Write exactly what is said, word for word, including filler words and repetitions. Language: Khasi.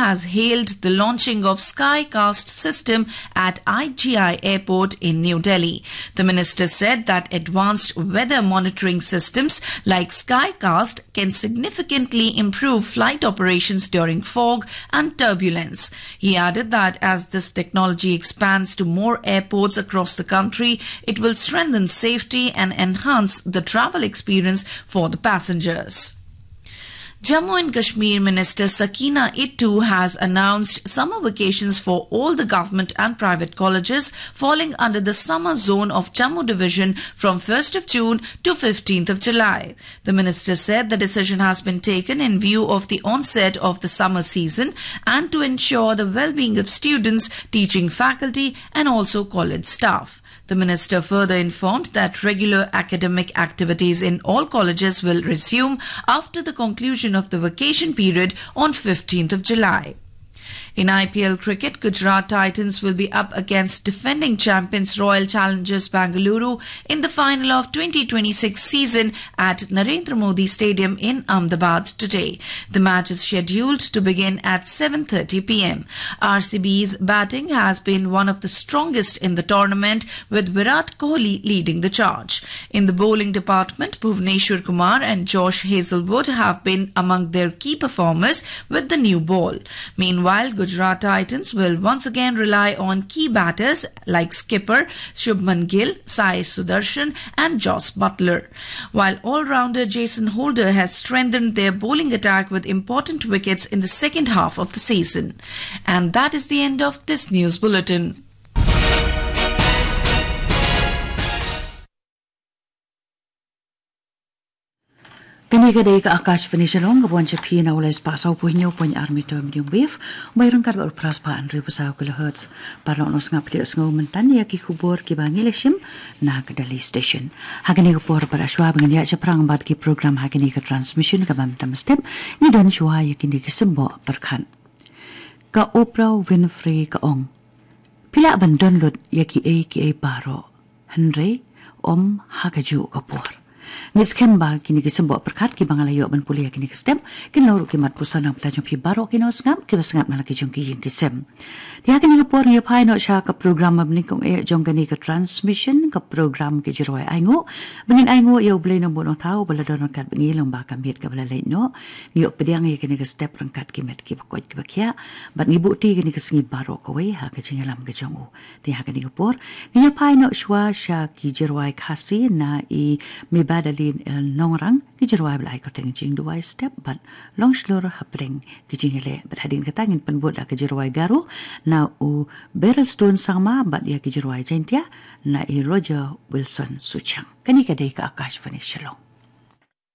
has hailed the launching of Skycast system at I G I Airport in New Delhi. The minister said that advanced weather monitoring systems like Skycast can significantly improve flight operations during fog and turbulence. He added that as this technology expands to more airports across the country, it will strengthen safety and enhance the travel experience for the passengers. Jammu and Kashmir Minister Sakina Ittu has announced summer vacations for all the government and private colleges falling under the summer zone of Jammu Division from first of June to fifteenth of July. The minister said the decision has been taken in view of the onset of the summer season and to ensure the well-being of students, teaching faculty, and also college staff. The minister further informed that regular academic activities in all colleges will resume after the conclusion of the vacation period on fifteenth of July. In I P L cricket, Gujarat Titans will be up against defending champions Royal Challengers Bengaluru in the final of twenty twenty-six season at Narendra Modi Stadium in Ahmedabad today. The match is scheduled to begin at seven thirty p m. R C B's batting has been one of the strongest in the tournament, with Virat Kohli leading the charge. In the bowling department, Bhuvneshwar Kumar and Josh Hazlewood have been among their key performers with the new ball. Meanwhile, Gujarat Titans will once again rely on key batters like skipper Shubman Gill, Sai Sudarshan, and Jos Buttler. While all-rounder Jason Holder has strengthened their bowling attack with important wickets in the second half of the season. And that is the end of this news bulletin. Kane ka dei ka Akashvani Shillong, ka wan sha phi na u lai spah saw phew hynñiew point ar meter medium wave, bai ryngkat bad u phra spah hynriew phew saw kilohertz. Paralok nongsngap, plie sngewbha mynta ïa ki khubor kiba ngi la shim na ka Delhi Station. Ha kane ka por pat, shuwa ba ngin ïaid shaphrang bad ki program ha kane ka transmission kaba mynta mynstep, ngi don shuwa ïa kine ki symboh pyrkhat. Ka Oprah Winfrey ka ong, phi lah ban don lut ïa kiei kiei baroh, hynrei ym ha kajuh ka por. Ngi skhem ba kine ki symboh pyrkhat kiba nga la ïoh ban pule ha kine ki step kin long ruh ki mat puson na ka bynta jong phi baroh ki nongsngap kiba sngap na la ki jong ki ïing ki sem. Te ha kane ka por ngi phai noh sha ka program ba nyngkong eh jong kane ka transmission, ka program Ki Jingrwai Ainguh. Ba ngin ainguh ïa U Blei Nongbuh Nongthaw ba la don ryngkat bad ngi lyngba ka miet kaba la leit noh. Ngi ïoh pdiang ïa kane ka step ryngkat ki met kiba koit kiba khiah, bad ngi buh ti kane ka sngi baroh kawei ha ka jingïalam ka jong U. Te ha kane ka por ngi ïa phai noh shuwa sha Ki Jingrwai Khasi na i Mibadalin El Nongrang, Ki Jingrwai ba la ai kyrteng Jingduwai Step bad Long Shlur hapdeng ki jingïaleh. Bad hadien kata ngin pynbud ïa Ki Jingrwai Garo na u Berylstone Sangma bad ïa Ki Jingrwai Jaiñtia na i Roger Wilson Suchang. Kane ka dei ka Akashvani Shillong.